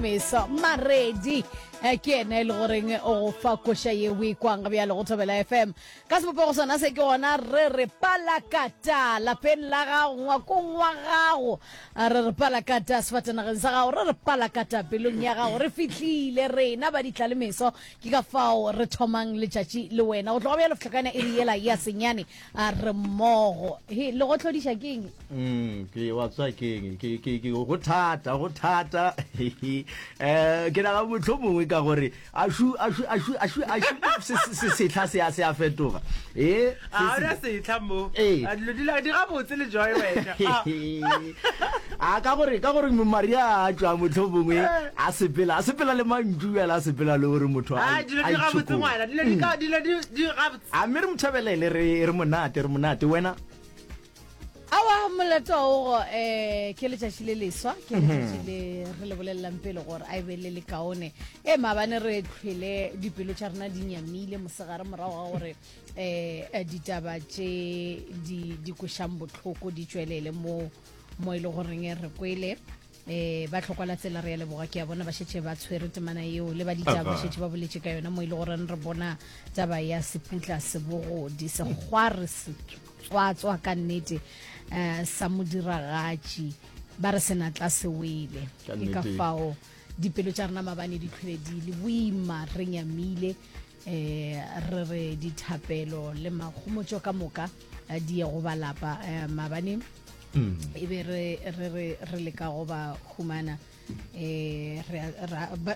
Meso Maredi eh, ke yena e le goreng o go fa koša ye o e kwang bjale go Thobela FM. Ka sebopego sona se ke gona re re palakata lapeng la gago, ngwakong wa gago, re re palakata sefatanageng sa gago, re re palakata pelong ya gago. Re fihlile rena ba ditla le meso, ke ka fao re thomang letšatši le wena. Go tloga bjalo fihla iri yela ya senyane a re mmogo. He, le go hlodiša ke eng? Mm, ke wa tswa ke eng? Ke ke ke go thata, go thata. Eh, ke naga motlho mongwe ka gore a shu a shu a shu a shu a shu se se sehla se a se a fetoga. Eh, A ona sehla mo. Ee. A dilo di la di gabotse le Joy wena. A. A ka gore ka gore Maria a tšwa motlho mongwe a sepela, a sepela le mantšu bjale a sepela le gore motho a A dilo a di gabotse itšhokole. ngwana. Dilo di ka dilo di di gabotse. A mme re mo thabelele re re monate re monate wena. Aowa molato wa ogo eh ke letšatši le leswa ke letšatši le re le bolelelang pele gore a e be le le kaone e maabane re tlhwele dipelo tša rena di nyamile mosegare morago ga gore eh ditaba tše di di kwešang bohloko di tšwelele mo mo e le goreng re kwele eh ba tlhokwa la tsela re ya leboga ke a bona ba šetše ba tshwere temana yeo le ba ditaba ba šetše ba boletše ka yona mo e le gore re bona taba ya seputla sebogodi sekgware setswatswa ka nnete um sa modiragatši ba re senatla se wele ke ka fao dipelo tša rena mabane di tlhwele di le boima re nyamile um re re dithapelo le makgomotšo ka moka eh, di ye go balapa um maabane mm. e be re re re re leka go ba humana eh re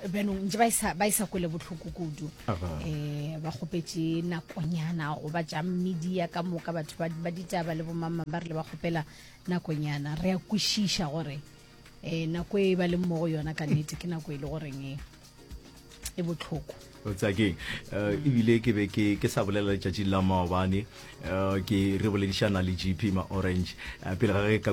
bjanong ntse ba isa ba isa kwele botlhoko kudu eh ba kgopetše nakonyana go ba tša media ka moka batho ba ba ditaba le bomamma ba re le ba kgopela nakonyana re a kwešiša gore eh nako e ba leng mo go yona ka nnete ke nako e le goreng e e botlhoko o tsaya keng eh, ebile ke be ke ke sa bolela letšatšing la maobane eh, ke re boledišana le gp ma orange eh, pele ga ge ka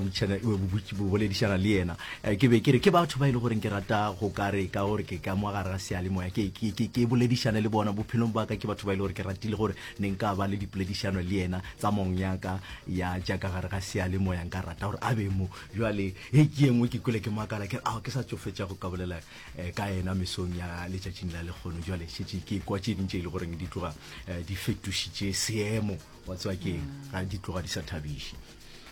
boledišana le yena ke be ke re ke batho ba e le goreng ke rata go ka re ka gore ke ka mo gare ga seyalemoya ke ke ke ke boledišane le bona bophelong ba ka ke batho ba e le gore ke ratile gore ne nka ba le dipoledišano le yena tsa mong ya ka ya tša ka gare ga seyalemoya nka rata gore a be mo jwale he ke ye nngwe ke kwele ke makala ke re ao ke sa tšo fetša go ka bolela eh, ka yena mesong ya letšatšing la lekgono jale šetše ke kwa tše ding tše e le goreng di tloga eh, di fetošitše seemo wa tseba ke ga di tloga di sa thabiše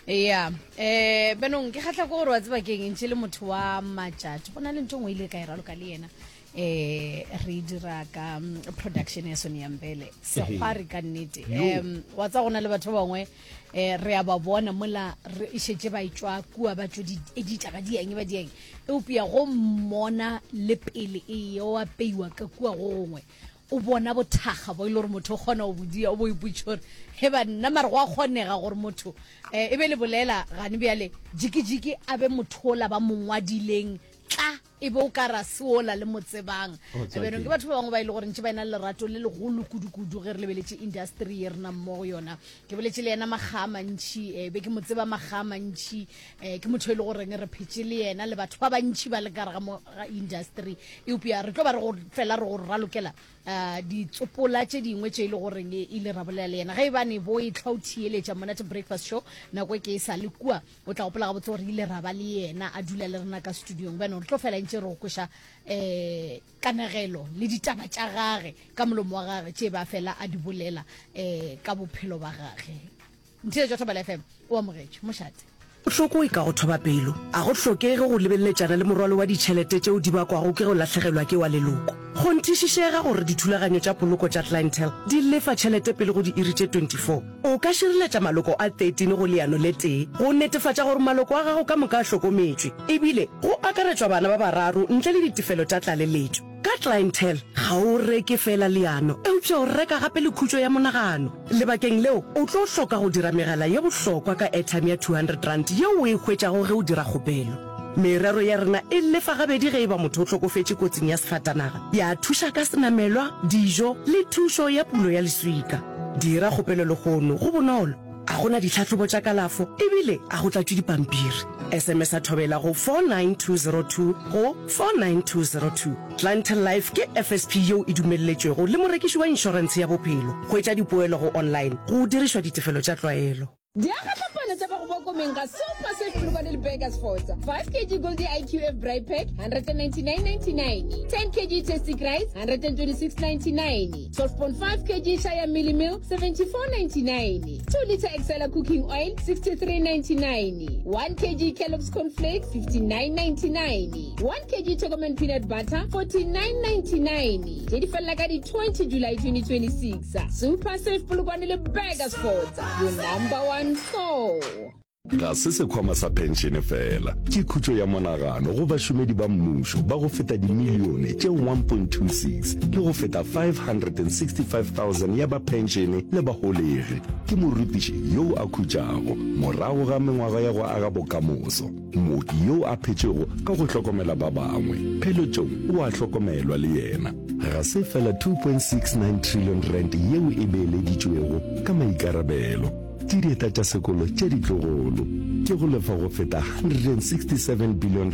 ya um eh, benong ke kgatlha ko gore wa tseba keng ntše le motho wa matšatši go na le ntho ngwe ile ka e raloka le yena eh re dira ka mm, production ya Sony Mbele sekgwari ka nnete um wa tsa gona le batho ba bangwe eh re a ba bona mola re šetše ba etšwa kua ba tšo di edita ba dieng ba dieng eupša go mmona le pele e yo apeiwa ka kua go gongwe o bona bothakga bo e le gore motho o kgona go bodia o bo ipotša gore he banna mare go a kgonega gore motho um e be le bolela gane bjale jikijiki a be motho ola ba mo ngwadileng tla e be o ka ra se ola le mo tsebang bjanong ke batho ba bangwe ba e le gore ntše ba ena le lerato le legolo kudu-kudu ge re lebeletše industry ye re nang mo go yona ke boletše le yena makga a mantšhi um be ke mo tseba makga a mantšhi um ke motho e le goreng re phetše le yena le batho ba bantšhi ba le ka gare ga industry eupša re tlo ba re go fela re go ralokela um ditsopola tše dingwe tše e le goreng e ile ra bolela le yena ge e bane bo e tlhwa o theeletša monate breakfast show nako e ke e sa le kua o tla gopola gabotse gore ile ra ba le yena a dula le rena ka studiong bjanong re tlo fela ntše re go kweša um kanegelo le ditaba tša gage ka molomo wa gage tše ba fela a di bolela um ka bophelo ba gage Ntheetšo Thobela FM o amogetšwe mošate. Bohloko e ka go thoba pelo. A go hlokege go lebeleletšana le morwalo wa ditšhelete tšeo di bakwago ke go lahlegelwa ke wa leloko. Kgonthišišega gore dithulaganyo tša poloko tša Clientele di lefa tšhelete pele go diiri tše 24. O ka šireletša maloko a 13 go leano le tee go netefatša gore maloko a gago ka moka a hlokometšwe, ebile go akaretšwa bana ba bararo ntle le ditefelo tša tlaleletšo. Ka Clientele, ga o reke feela leano, eupša o reka gape le khutšo ya monagano. Lebakeng leo, o tlo hloka go dira megala ye bohlokwa ka airtime ya R200 yeo o e hwetšago ge o dira kgopelo. Merero ya rena e lefa gabedi ge e ba motho o hlokofetše kotsing ya sefatanaga, ya thuša ka senamelwa, dijo le thušo ya pulo ya leswika. Dira kgopelo lehono, go bonolo, ga go na ditlhahlobo tša kalafo ebile ga go tlatšwe dipampiri. SMS-a Thobela go 49202 go 49202. Clientele Life ke FSP yeo e dumelletšwego le morekiši wa inšorentshe ya bophelo. Hwetša dipoelo go online go dirišwa ditefelo tša tlwaelo. Diagahlapana tša ba. go boa komeng ga Super Safe Polokwane le Burgersfort. 5 kg Goldie IQF Braai Pack 199.99, 10 kg Tasty Rice 126.99, 12.5 kg Shaya Mealie Meal 74.99, 2 litre Excella Cooking Oil 63.99, 1 kg Kellogg's Corn Flakes 59.99, 1 kg Chocoman Peanut Butter 49.99. Tše di felela ka di 20 July 2026. Super Safe Polokwane le Burgersfort, your number one store. Ga se sekhwama sa phenšene feela, ke khutšo ya monagano go bašomedi ba mmušo ba go feta dimilione tše 1.26 le go feta 565,000 ya ba phenšene le baholegi. Ke morutiši yo a khutšago morago ga mengwaga ya go aga bokamoso, mooki yo a phetšego ka go hlokomela ba bangwe. Pheletšong o a hlokomelwa le yena. Ga se feela R2.69 trillion yeo e beeleditšwego ka maikarabelo. Ke dieta tša sekolo tše ditlogolo. Ke go lefa go feta R167 billion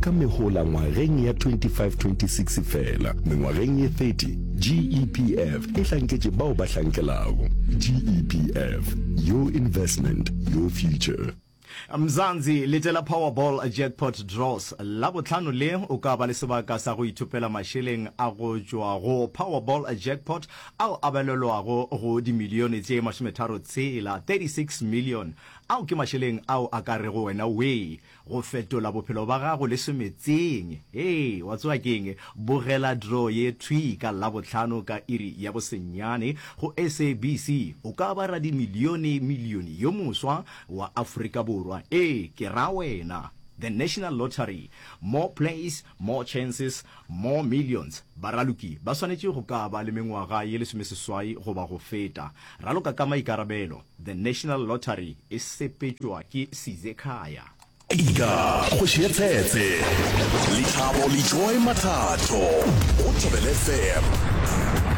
ka mehola ngwageng ya 25-26 feela. Mengwageng ye 30, GEPF e hlanketše bao ba hlankelago. GEPF, your investment, your future. Mzansi, letela Powerball Jackpot Draws Labohlano le o ka ba le sebaka sa go ithopela mašeleng a go tšwa go Powerball Jackpot ao a balelwago go dimilione tše masometharotshela, 36 million. Ao ke mašeleng ao a ka rego wena wee go fetola bophelo ba gago le semetseng. Hee, wa tseba ke'ng? Bogela draw ye thwii ka Labohlano ka iri ya bosenyane go SABC. O ka ba radimilione milione yo moswa wa Afrika Borwa. Ee, ke ra wena. The National Lottery. More plays, more chances, more millions. Baraloki ba swanetše go ka ba le mengwaga ye lesomeseswai goba go feta. Raloka ka maikarabelo. The National Lottery e sepetšwa ke Sizekhaya. Ika, kgoši ya Tshetse, Lethabo le Joy Mathatho go Thobela FM.